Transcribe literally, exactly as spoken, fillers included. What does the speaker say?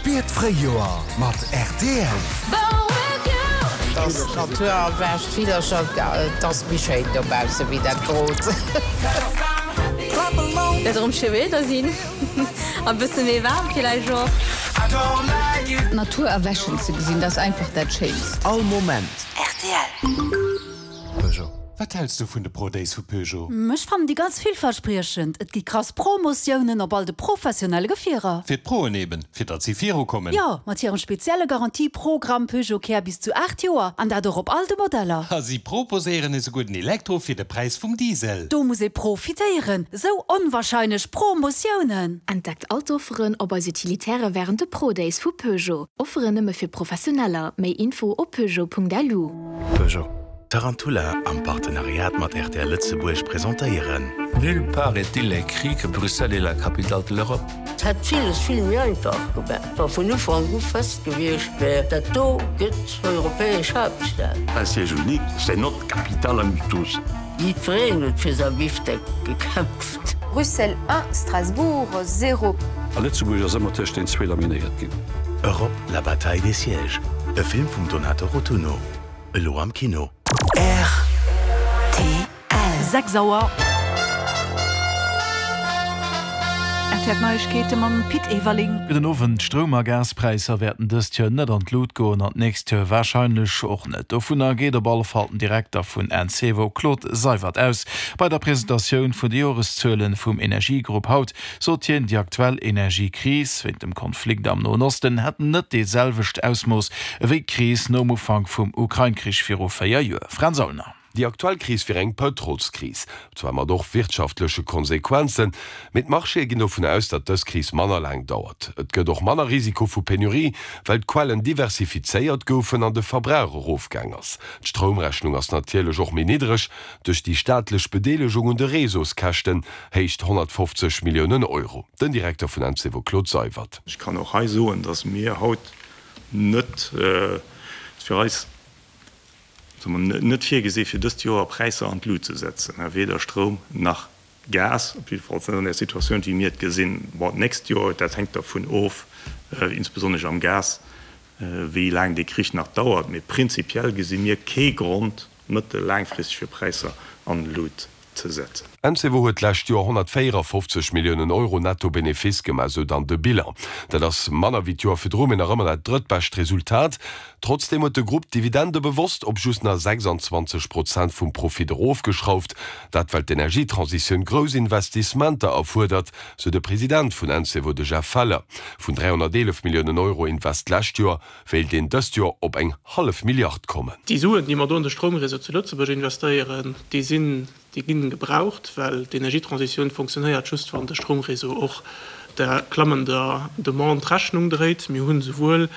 Spier d'Fréijoer mat rtl. Dass d'Natur erwächt, d'Villercher, et ass méi schéin dobausse wéi dat grot. Wäert erëm schéi Wieder sinn a bësse méi waarm villäicht och. D'Natur erwächen ze gesinn, dat ass einfach dat Schéinst. All Moment. Rtl. Peugeot. Wat häls du vun de Pro Days vu Peugeot? Ech fannen déi ganz villverspriechend. Et gi krass Promotiounen op all de professionelle Gefierer. Fir d'Proen eben, fir datt si virukommen. Jo, mat hirem spezielle Garantieprogramm Peugeot Care bis zu aacht Joer an dat och op all de Modeller. A si proposéieren esouguer den Elektro fir de Präis vum Diesel. Do muss ee profitéieren. Sou onwahrscheinlech Promotiounen. Entdeckt all d'Offeren op eis Utilitäre wärend de Pro Days vu Peugeot. Offeren nëmme fir Professioneller. Méi Info op peugeot.lu. Peugeot. Tarantula am Partenariat mat rtl Lëtzebuerg presentéieren. Nulle part est-il écrit que Bruxelles est la capitale de l'Europe. Et hätt villes vill méi einfach gemaach, wa vun Ufank u fest gewiescht wär, dat do gëtt europäesch Haaptstad. Un siège unique, c'est notre capitale à nous tous. Jiddwereen huet fir säi Bifteck gekämpft. Bruxelles un, Strasbourg zéro. A Lëtzebuerg ass ëmmer tëscht den zwee laminéiert ginn. Europe, la bataille des sièges, e Film vum Donato Rotunno, elo am Kino. Rtl. Sechs Auer. R T L D'Neiegkeete mam Pit Everling. Gudden Owend. D'Stroum a Gaspräisser wäerten dëst Joer net an d'Lut goen an d'nächst Joer warscheinlech och net. Dovunner geet op alle Fall den Direkter vun Encevo Claude Seywert aus. Bei der Presentatioun vun de Joreszuelen vum Energiegrupp haut sot hien, déi aktuell Energiekris wéint dem Konflikt am Noen Osten hätt net déi selwecht Ausmooss ewéi d'Kris nom Ufank vum Ukrain-Krich viru véier Joer. Fränz Aulner. Déi aktuell Kris wier eng Pëtrolskris, zwar mat och wirtschaftleche Konsequenzen, mee d'Marchéë ginn dovun aus, datt dës Kris manner laang dauert. Et gëtt och manner Risiko vu Penurie, well d'Quellen diversifizéiert goufen an de Verbrauch erofgaang ass. D'Stroumrechnung ass natierlech och méi niddreg duerch déi staatlech Bedeelegung un de Réseauskäschten, héicht honnertfofzeg Milliounen Euro. Den Direkter vun Encevo Claude Seywert. Ech kann och hei soen, datt mir haut net, fir eis, soe mer, net virgesi fir dëst Joer Präisser an d'Lut ze setzen, weder Stroum nach Gas, op jiddefalls net an där Situatioun, wéi mir et gesinn. Bon, d'nächst Joer, dat hänkt dervun of, insbesonnesch am Gas, wéi laang dee Krich nach dauert. Mee prinzipiell gesi mir kee Grond, mëttel-, laangfristeg fir Präisser an d'Lut ze setzen. Encevo huet d'lescht Joer honnertvéierafofzeg Milliounen Euro Netto-Benefice gemaach, sou dann de Bilan. Dat ass manner wéi d'Joer virdru, mee nach ëmmer dat drëttbescht Resultat. Trotzdeem huet de Grupp d'Dividende bewosst op just nach sechsanzwanzeg Prozent vum Profit erofgeschrauft. Dat well d'Energietransitioun grouss Investissementer erfuerdert, sou de President vun Encevo, de Jeff Feller. Vun dräihonnerteelef Milliounen Euro Invest d'lescht Joer wéilt een dëst Joer op eng hallef Milliard kommen. Déi Suen, déi mer do an de Stroumréseau zu Lëtzebuerg investéieren, déi sinn, déi ginn gebraucht, well d'Energietransitioun fonctionnéiert just, wann de Stroumréseau och der klammender Demande Rechnung dréit. Mir hunn esouwuel